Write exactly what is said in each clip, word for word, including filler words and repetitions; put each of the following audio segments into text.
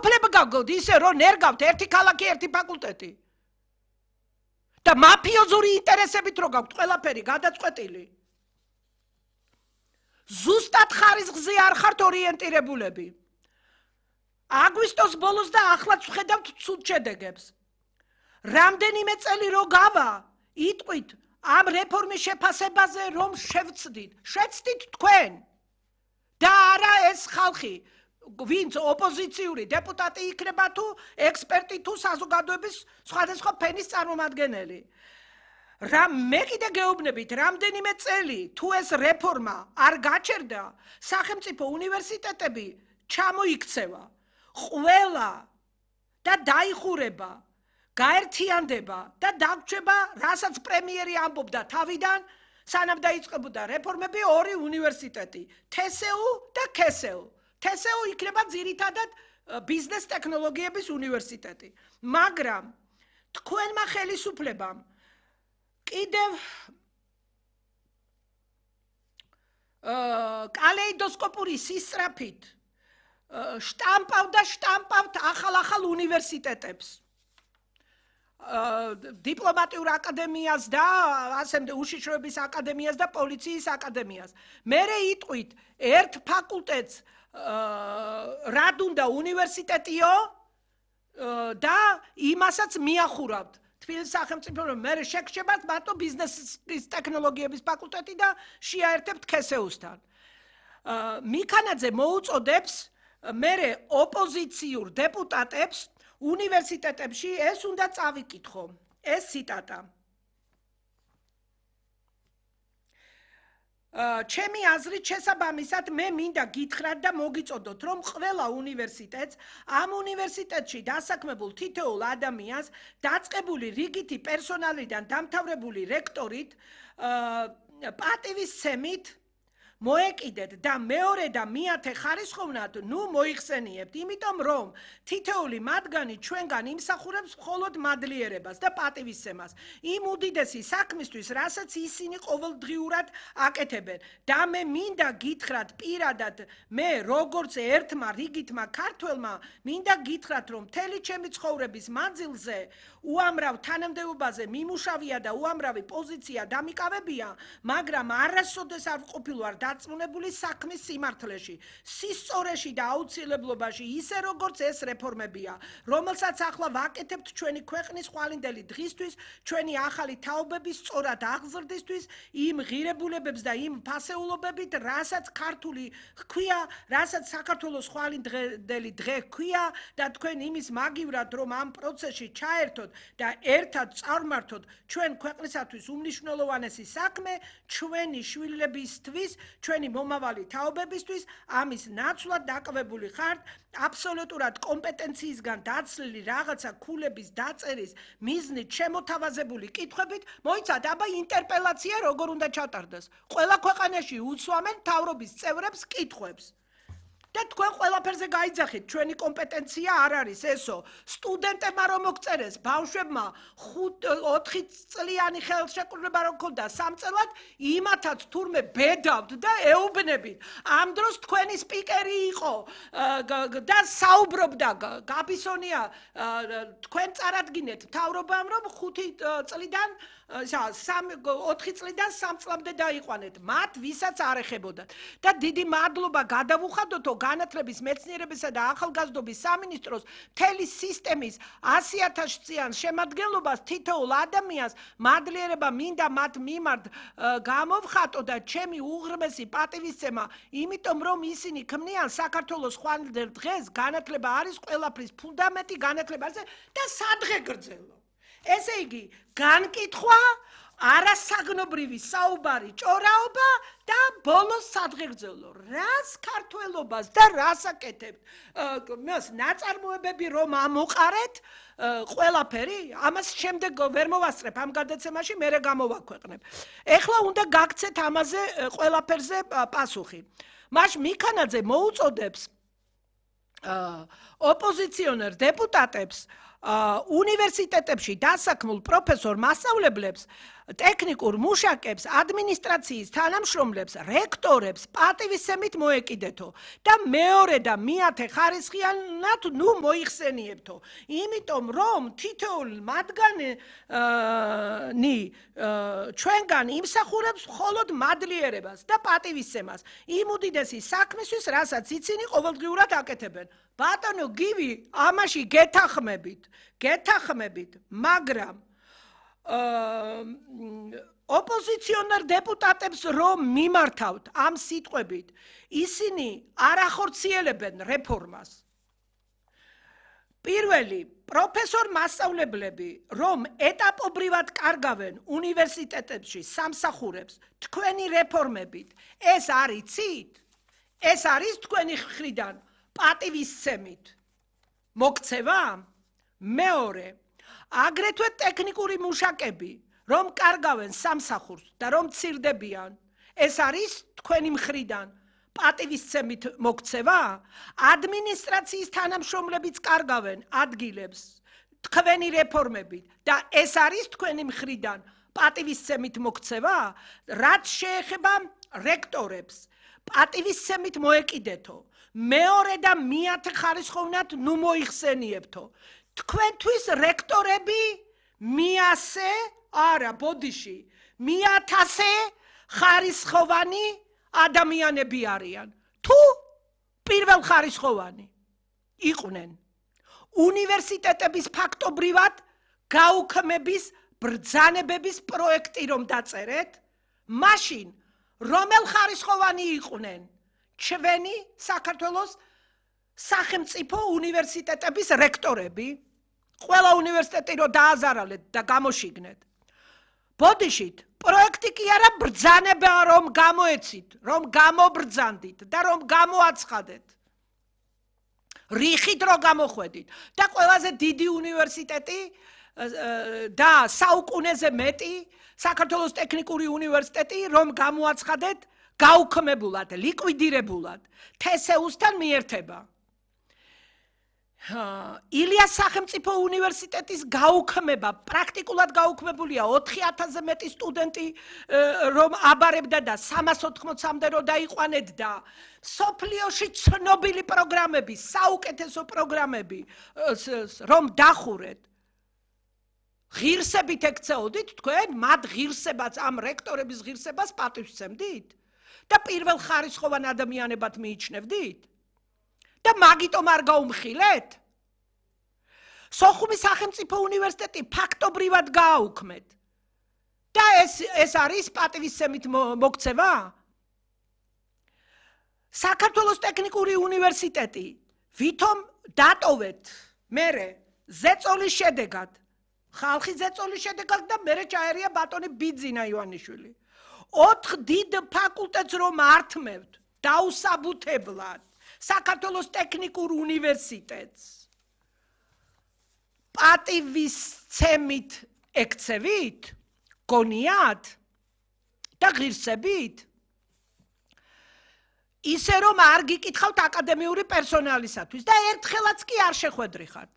გაუფლება გაგოთ ისე რომ ნერგავთ ერთი ქალაქი ერთი ფაკულტეტი და მაფიოზური ინტერესებით რო გაქვთ ყველაფერი გადაწყვეტილი ზუსტად ხარისხზე არ ხართ ორიენტირებულები აგვისტოს ბოლოს და ახლაც ვხედავთ ცუდ შედეგებს რამდენიმე წელი რო გავა იტყვით ამ რეფორმის შეფასებაზე რომ შევცდით შეცდით თქვენ და არა ეს ხალხი ვინც ოპოზიციური დეპუტატი იქნება თუ ექსპერტი თუ საზოგადოების სხვადასხვა ფენის წარმომადგენელი რა მე კიდე გეუბნებით რამდენიმე წელი თუ ეს რეფორმა არ გაჩერდა სახელმწიფო უნივერსიტეტები ჩამოიქცევა ყველა და დაიხურება გაერთიანდება და დაგვრჩება რასაც პრემიერი ამბობდა თავიდან სანამ დაიწყებოდა რეფორმები ორი უნივერსიტეტი თესეუ და ქესეუ თესეუ იქნება ძირითადად ბიზნეს ტექნოლოგიების უნივერსიტეტი მაგრამ თქვენმა ხელისუფლებამ კიდევ კალეიდოსკოპური სისწრაფით შტამპავდა შტამპავთ ახალ-ახალ უნივერსიტეტებს დიპლომატიურ აკადემიას და ასე უშიშროების აკადემიას და პოლიციის აკადემიას მერე იტყვით ერთ ფაკულტეტს რად უნდა უნივერსიტეტიო და იმასაც მიახურავთ თბილისის სახელმწიფო რომ მერე შეგრჩებათ მარტო ბიზნესის ტექნოლოგიების ფაკულტეტი და შეაერთებთ ქესეუსთან მიქანაძე მოუწოდებს მერე ოპოზიციურ დეპუტატებს უნივერსიტეტებში ეს უნდა წავიკითხო ეს ციტატა ჩემი აზრით შესაბამისად მე მინდა გითხრათ და მოგიწოდოთ რომ ყველა უნივერსიტეტს ამ უნივერსიტეტში დასაქმებულ თითოეულ ადამიანს დაწყებული რიგითი პერსონალიდან დამთავრებული რექტორით პატივისცემით მოეკიდეთ და მეორე და მეათე ხარისხოვნად ნუ მოიხსენიებთ იმიტომ რომ თითოეული მათგანი ჩვენგან იმსახურებს მხოლოდ მადლიერებას და პატივისცემას იმ უდიდესი საქმისთვის რასაც ისინი ყოველდღიურად აკეთებენ და მე მინდა გითხრათ პირადად მე როგორც ერთმა რიგითმა ქართველმა მინდა გითხრათ რომ მთელი ჩემი ცხოვრების მანძილზე უამრავ თანამდებობაზე მიმუშავია და უამრავი პოზიცია დამიკავებია მაგრამ არასოდეს არ ვყოფილვარ დაწმუნებული საქმის სიმართლეში, სისწორეში და აუცილებლობაში, ისე როგორც ეს რეფორმებია, რომელსაც ახლა ვაკეთებთ ჩვენი ქვეყნის ხვალინდელი დღისთვის, ჩვენი ახალი თაობების სწორად აღზრდისთვის, იმ ღირებულებებს და იმ ფასეულობებით, რასაც ქართული ჰქვია, რასაც საქართველოს ხვალინდელი დღე ჰქვია და თქვენ იმის მაგივრად, რომ ამ პროცესში ჩაერთოთ და ერთად წარმართოთ ჩვენ ქვეყნისათვის უმნიშვნელოვანესი საქმე, ჩვენი შვილებისთვის ჩვენი მომავალი თაობებისთვის ამის ნაცვლად დაკავებული ხართ აბსოლუტურად კომპეტენციისგან დაცლილი რაღაცა ქულების დაწერის მიზნით შემოთავაზებული კითხვებით მოიცადეთ აბა ინტერპელაცია როგორ უნდა ჩატარდეს ყველა ქვეყანაში უსვამენ მთავრობის წევრებს კითხვებს და თქვენ ყველაფერზე გაიძახით ჩვენი კომპეტენცია არ არის ესო სტუდენტებმა რომ მოგწერეს ბავშვებმა ოთხი წლიანი ხელშეკრულება რომ ქონდა სამწელად იმათაც თურმე ბედავთ და ეუბნებით ამ დროს თქვენი სპიკერი იყო და საუბრობდა გაბისონია თქვენ წარადგინეთ მთავრობამ რომ ხუთი წლიდან ოთხი წლიდან სამ წლამდე დაიყვანეთ მათ ვისაც არ ეხებოდათ და დიდი მადლობა გადავუხადოთო განათლების მეცნიერებისა და ახალგაზრდობის სამინისტროს მთელი სისტემის ასი ათას წლიან შემადგენლობას თითოეულ ადამიანს მადლიერება მინდა მათ მიმართ გამოვხატო და ჩემი უღრმესი პატივისცემა იმიტომ რომ ისინი ქმნიან საქართველოს ხვალინდელ დღეს განათლება არის ყველაფრის ფუნდამენტი განათლებაზე და სადღე გრძელო ესე იგი განკითხვა არასაგნობრივი საუბარი ჭორაობა და ბოლოს სადღეგრძელო რას ქართველობას და რას აკეთებთ მას ნაწარმოებები რომ ამოყარეთ ყველაფერი ამას შემდეგ ვერ მოვასწრებ ამ გადაცემაში მე გამოვაქვეყნებ ეხლა უნდა გაგცეთ ამაზე ყველაფერზე პასუხი მაშ მიქანაძე მოუწოდებს ოპოზიციონერ დეპუტატებს უნივერსიტეტებში დასაქმულ პროფესორ მასწავლებლებს ტექნიკურ მუშაკებს, ადმინისტრაციის თანამშრომლებს, რექტორებს პატივისცემით მოეკიდეთო და მეორე და მეათე ხარისხიანად ნუ მოიხსენიებთო. იმიტომ რომ თითოეული მათგანი ჩვენგან იმსახურებს მხოლოდ მადლიერებას და პატივისცემას. იმ უდიდესი საქმისთვის, რასაც იცინი ყოველდღიურად აკეთებენ. ბატონო გივი, ამაში გეთახმებით, გეთახმებით, მაგრამ ოპოზიციონერ დეპუტატებს რომ მიმართავთ ამ სიტყვებით, ისინი არ ახორციელებენ რეფორმას. პირველი, პროფესორ მასწავლებლები, რომ ეტაპობრივად კარგავენ უნივერსიტეტებში სამსახურებს თქვენი რეფორმებით, ეს არ იცით? ეს არის თქვენი მხრიდან პატივისცემით მოქცევა? მეორე, აგრეთვე ტექნიკური მუშაკები, რომ კარგავენ სამსახურს და რომ მცირდებიან, ეს არის თქვენი მხრიდან პატივისცემით მოქცევა? ადმინისტრაციის თანამშრომლებიც კარგავენ ადგილებს თქვენი რეფორმებით და ეს არის თქვენი მხრიდან პატივისცემით მოქცევა? რაც შეეხება რექტორებს, პატივისცემით მოეკიდეთო. მეორე და მეათე ხარისხოვნად ნუ მოიხსენიებთო. თქვენთვის რექტორები მიასე, არა, ბოდიში, მიათასე ხარისხოვანი ადამიანები არიან. თუ პირველ ხარისხოვანი იყვნენ უნივერსიტეტების ფაქტობრივად გაუქმების ბრძანებების პროექტი რომ დაწერეთ, მაშინ რომელ ხარისხოვანი იყვნენ ჩვენი საქართველოს სახელმწიფო უნივერსიტეტების რექტორები? ყველა უნივერსიტეტი რომ დააზარალეთ და გამოშიგნეთ. ბოდიშით, პროექტი კი არა, ბრძანება რომ გამოეცით, რომ გამობრძანდით და რომ გამოაცხადეთ. რიხით რომ გამოხვედით და ყველაზე დიდი უნივერსიტეტი და საუკუნეზე მეტი საქართველოს ტექნიკური უნივერსიტეტი რომ გამოაცხადეთ გაუქმებულად, ლიკვიდირებულად, თესეუსთან მიერთება. ილიას სახელმწიფო უნივერსიტეტის გაუქმება, პრაქტიკულად გაუქმებულია ოთხი ათასზე მეტი სტუდენტი რომ აბარებდა და სამას ოთხმოცამდე რომ დაიყვანეთ და სოფლიოში ცნობილი პროგრამები, საუკეთესო პროგრამები რომ დახურეთ. ღირსებით ექცეოდით თქვენ, მათ ღირსებას, ამ რექტორების ღირსებას პატივისცემდით და პირველ ხარისხოვან ადამიანებად მიიჩნევდით? და მაგიტომ არ გაუმხილეთ? სოხუმის სახელმწიფო უნივერსიტეტი ფაქტობრივად გააუქმეთ. და ეს ეს არის პატივისცემით მოქცევა? საქართველოს ტექნიკური უნივერსიტეტი ვითომ დატოვეთ მერე ზეწოლის შედეგად, ხალხის ზეწოლის შედეგად და მერე ჩაერია ბატონი ბიძინა ივანიშვილი. ოთხ დიდ ფაკულტეტს რომ ართმევთ დაუსაბუთებლად საქართველოს ტექნიკურ უნივერსიტეტს პატივისცემით ექცევით, გონიათ და ღირსებით? ისე რომ არ გიკითხავთ აკადემიური პერსონალისათვის და ერთხელაც კი არ შეხვედრიხართ.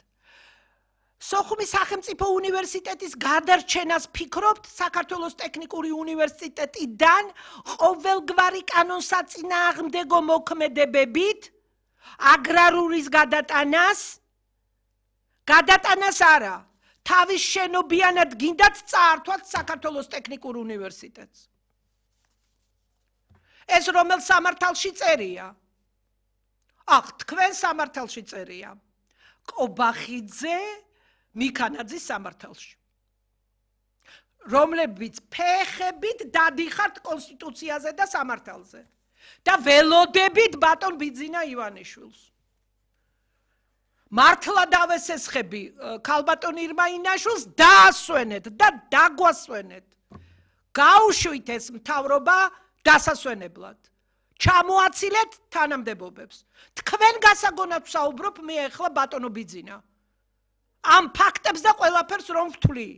სოხუმის სახელმწიფო უნივერსიტეტის გადარჩენას ფიქრობთ საქართველოს ტექნიკური უნივერსიტეტიდან ყოველგვარი კანონსაწინააღმდეგო მოქმედებებით, აგრარულის გადატანას, გადატანას არა, თავის შენობიანად გინდათ წაართვათ საქართველოს ტექნიკურ უნივერსიტეტს. ეს რომელ სამართალში წერია? ახ, თქვენ სამართალში წერია. კობახიძე მიქანაძის სამართალში. რომლებიც ფეხებით დადიხართ კონსტიტუციაზე და სამართალზე და ველოდებით ბატონ ბიძინა ივანიშვილს. მართლა დავესესხები ქალბატონ ირმა ინაშვილს დაასვენეთ და დაგვასვენეთ. გაუშვით ეს მთავრობა დასასვენებლად. ჩამოაცილეთ თანამდებობებს. თქვენ გასაგონად ვსაუბრობ მე ახლა ბატონო ბიძინა. ამ ფაქტებს და ყველაფერს რომ ვთვლი.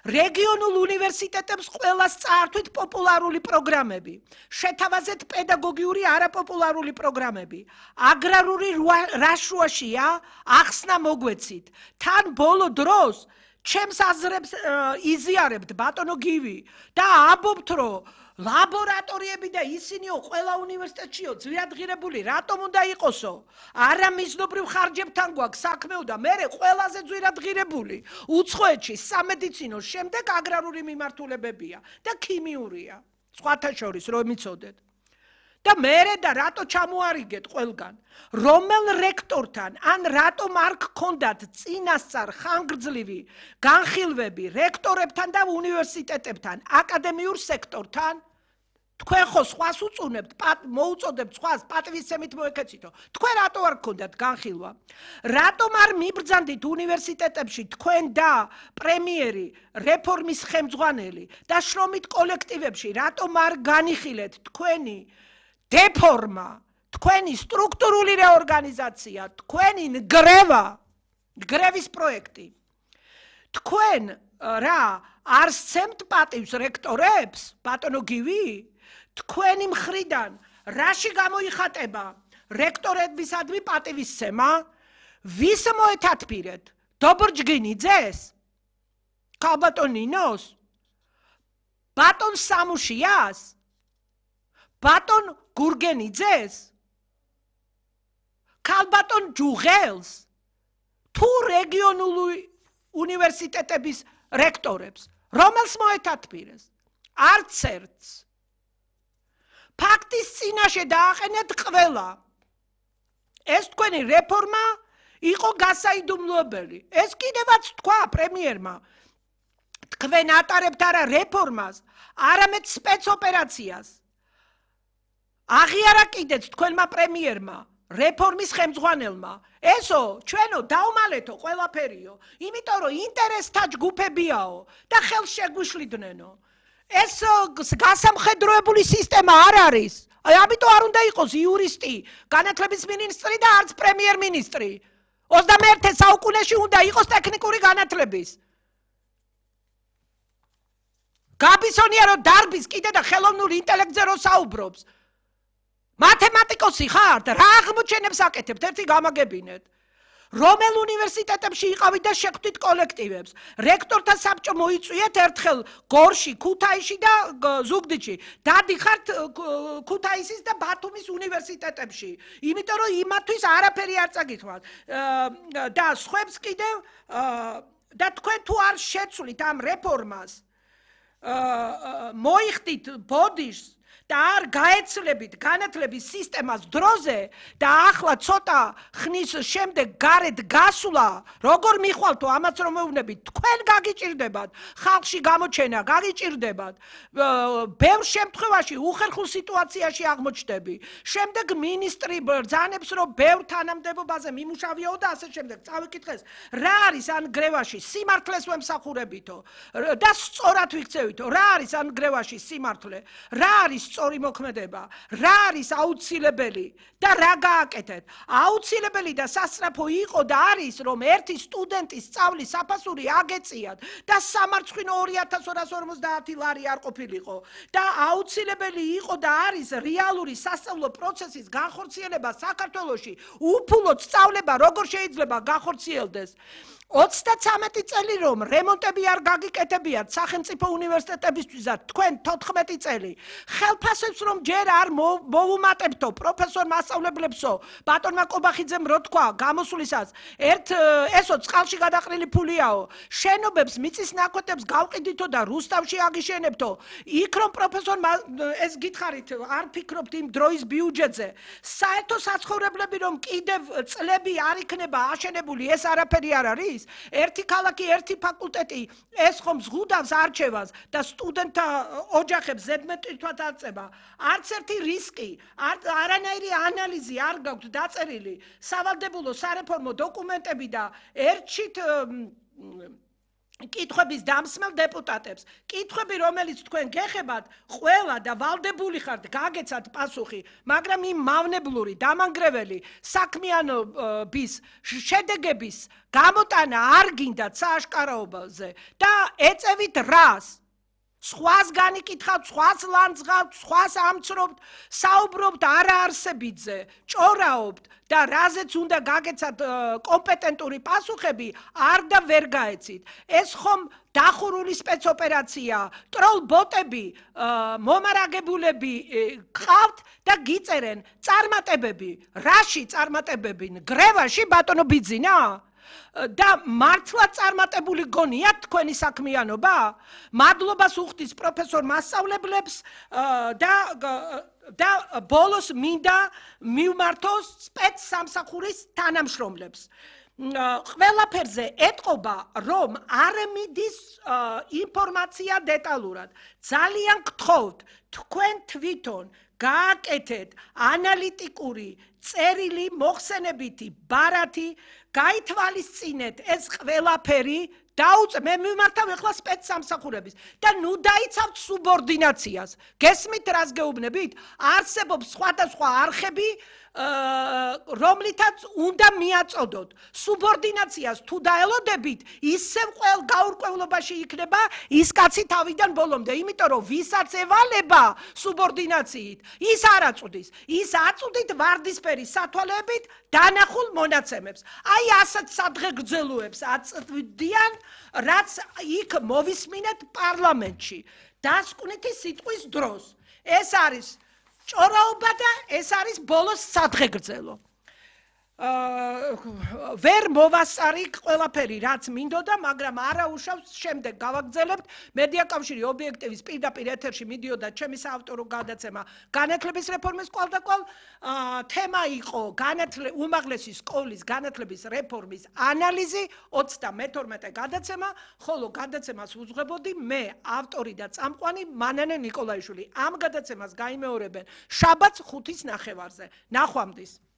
რეგიონულ უნივერსიტეტებს ყველას წაართვით პოპულარული პროგრამები, შეთავაზეთ პედაგოგიური არაპოპულარული პროგრამები, აგრარული რაშუაშია, ახსნა მოგვეცით. თან ბოლო დროს ჩემს აზრებს იზიარებთ ბატონო გივი და ამბობთ, რომ ლაბორატორიები და ისინიო ყველა უნივერსიტეტშიო ძვირადღირებული, რატომ უნდა იყოსო? არა მიზნობრივ ხარჯებთან გვაქვს საქმეო და მერე ყველაზე ძვირადღირებული უცხოეთში სამედიცინო, შემდეგ აგრარული მიმართულებებია და ქიმიურია. სხვათა შორის რომ მიცოდეთ. და მერე და რატო ჩამოარიგეთ ყველგან? რომელ რექტორთან ან რატომ არ გქონდათ წინასწარ ხანგრძლივი განხილვები რექტორებთან და უნივერსიტეტებთან, აკადემიურ სექტორთან? თქვენ ხო სხვას უწუნებთ, მოუწოდებთ სხვას, პატივისცემით მოეკეცითო. თქვენ რატო არ გქონდათ განხილვა? რატომ არ მიბრძანდით უნივერსიტეტებში თქვენ და პრემიერი, რეფორმის ხელმძღვანელი და შრომით კოლექტივებში, რატომ არ განიხილეთ თქვენი დეფორმა, თქვენი სტრუქტურული რეორგანიზაცია, თქვენი ნგრევა, ნგრევის პროექტი. თქვენ რა არ სცემთ პატივს რექტორებს, ბატონო გივი? თქვენი მხრიდან რაში გამოიხატება რექტორებისადმი პატივისცემა? ვის მოეთათბირეთ? დობრჯგინიძეს? ქალბატონ ნინოს? ბატონ სამუშიას? ბატონ გურგენიძეს? ქალბატონ ჯუღელს? თუ რეგიონული უნივერსიტეტების რექტორებს, რომელს მოეთათბირეს? არც ერთს. ფაქტის წინაშე დააყენეთ ყველა. ეს თქვენი რეფორმა იყო გასაიდუმლოებელი. ეს კიდევაც თქვა პრემიერმა. თქვენ ატარებთ არა რეფორმას, არამედ სპეცოპერაციას. აღიარა კიდეც თქვენმა პრემიერმა, რეფორმის ხელმძღვანელმა. ესო, ჩვენო დავმალეთო ყველაფერიო, იმიტომ რომ ინტერესთა ჯგუფებიაო და ხელს შეგვიშლიდნენ. ეს გასამხედროებული სისტემა არ არის. ამიტომ არ უნდა იყოს იურისტი, განათლების მინისტრი და არც პრემიერ-მინისტრი. ოცდამეერთე საუკუნეში უნდა იყოს ტექნიკური განათლების. გაბისონია რომ დარბის კიდე და ხელოვნურ ინტელექტზე რო საუბრობს. მათემატიკოსი ხართ? რა აღმოჩენებს აკეთებთ? ერთი გამაგებინეთ. რომელ უნივერსიტეტებში იყავით და შეხვდით კოლექტივებს? რექტორთა საბჭო მოიწვიეთ ერთხელ გორში, ქუთაისში და ზუგდიდში. დადიხართ ქუთაისის და ბათუმის უნივერსიტეტებში. იმიტომ რომ იმათვის არაფერი არ წაგითხრათ. და სხვებს კიდევ და თქვენ თუ არ შეცვლით ამ რეფორმას, მოიხდით ბოდიშს და არ გაეცლებით განათლების სისტემას დროზე და ახლა ცოტა ხნის შემდეგ გარეთ გასვლა, როგორ მიხვალთო ამაც რომ მეუბნებით, თქვენ გაგიჭირდებათ, ხალხში გამოჩენა გაგიჭირდებათ, ბევრ შემთხვევაში უხერხულ სიტუაციაში აღმოჩნდები. შემდეგ მინისტრი ბრძანებს, რომ ბევრ თანამდებობაზე მიმუშავიაო და ასე შემდეგ. წავიკითხეს, რა არის ან გრევაში სიმართლეს ვემსახურებითო და სწორად ვიქცევითო, რა არის ან გრევაში სიმართლე, რა არის სწორი მოქმედება, რა არის აუცილებელი და რა გააკეთეთ? აუცილებელი და სასწრაფო იყო და არის, რომ ერთი სტუდენტის სწავლის საფასური აგეწიათ და სამარცხვინო ორი ათას ორას ორმოცდაათი ლარი არ ყოფილიყო და აუცილებელი იყო და არის რეალური სასწავლო პროცესის განხორციელება საქართველოში, უფულოდ სწავლება როგორ შეიძლება განხორციელდეს. ოცდაცამეტი წელი რომ რემონტები არ გაგიკეთებიათ სახელმწიფო უნივერსიტეტებისთვის და თქვენ თოთხმეტი წელი ხელფასებს რომ ჯერ არ მოუმატებთო პროფესორ მასწავლებლებსო, ბატონმა კობახიძემ რო თქვა გამოსვლისას, ერთ ესო წყალში გადაყრილი ფულიაო, შენობებს მიწის ნაკვეთებს გავყიდითო და რუსთავში აგიშენებთო. იქ რომ პროფესორ ეს გითხარით, არ ფიქრობთ იმ დროის ბიუჯეტზე. საერთო საცხოვრებლები რომ კიდევ წლები არ იქნება აშენებული, ეს არაფერი არ არის. ერთი ქალაქი, ერთი ფაკულტეტი, ეს ხომ ზღუდავს არჩევას და სტუდენტთა ოჯახებს ზედმეტითად აწება. არც ერთი რისკი, არანაირი ანალიზი არ გაქვთ დაწერილი. სავალდებულო სარეფორმო დოკუმენტები და ერთშით კითხვების დამსმელ დეპუტატებს. კითხვები, რომელიც თქვენ გეხებათ, ყველა და ვალდებული ხართ გაგეცათ პასუხი, მაგრამ იმ მავნებლური, დამანგრეველი საქმიანობის შედეგების გამოტანა არ გინდათ სააშკარაობაზე და ეწევით რას? სხვას განიკითხავთ, სხვას ლანძღავთ, სხვას ამცნობთ, საუბრობთ არაარსებითზე, ჭორაობთ და რაზეც უნდა გაგეცათ კომპეტენტური პასუხები, არ და ვერ გაეცით. ეს ხომ დახურული სპეცოპერაცია, ტროლ-ბოტები, მომარაგებულები გყავთ და გიწერენ წარმატებები. რაში წარმატებები? გრევაში ბატონო ბიძინა? და მართლა წარმატებული გონიათ თქვენი საქმიანობა? მადლობას უხდის პროფესორ მასწავლებლებს და და ბოლოს მინდა მივმართოს სპეცსამსახურის თანამშრომლებს. ყველაფერზე ეტყობა, რომ არ მიდის ინფორმაცია დეტალურად. ძალიან გთხოვთ, თქვენ თვითონ გააკეთეთ ანალიტიკური წერილი მოხსენებითი ბარათი, გაითვალისწინეთ ეს ყველაფერი, დაუწე მე მიმართავ ახლა სპეცსამსახურების და ნუ დაიცავთ სუბორდინაციას. გესმით რას გეუბნებით? არსებობს სხვადასხვა არხები, რომლითაც უნდა მიაწოდოთ. სუბორდინაციას თუ დაელოდებით, ისევ ყველ გაურკვევლობაში იქნება ის კაცი თავიდან ბოლომდე, იმიტომ რომ ვისაც ევალება სუბორდინაციით, ის არ აწვდის. ის აწვდით ვარდისფერი სათვალეებით დანახულ მონაცემებს. აი ასეთ სადღეგრძელოებს აწვდიან, რაც იქ მოვისმინეთ პარლამენტში. დასკვნითი სიტყვის დროს. ეს არის ჭორაობა და ეს არის ბოლოს სადღეგრძელო. ვერ მოვასწარი ყველაფერი, რაც მინდოდა, მაგრამ არა უშავს შემდეგ გავაგრძელებთ. მედია კავშირი ობიექტივის პირდაპირ ეთერში მიდიოდა ჩემი საავტორო გადაცემა განათლების რეფორმის კვალდაკვალ. თემა იყო უმაღლესი სკოლის განათლების რეფორმის ანალიზი, ოცდამეთორმეტე გადაცემა, ხოლო გადაცემას უძღვებოდი მე, ავტორი და წამყვანი მანანე ნიკოლაიშვილი. ამ გადაცემას გაიმეორებენ შაბათს ხუთის ნახევარზე. ნახვამდის.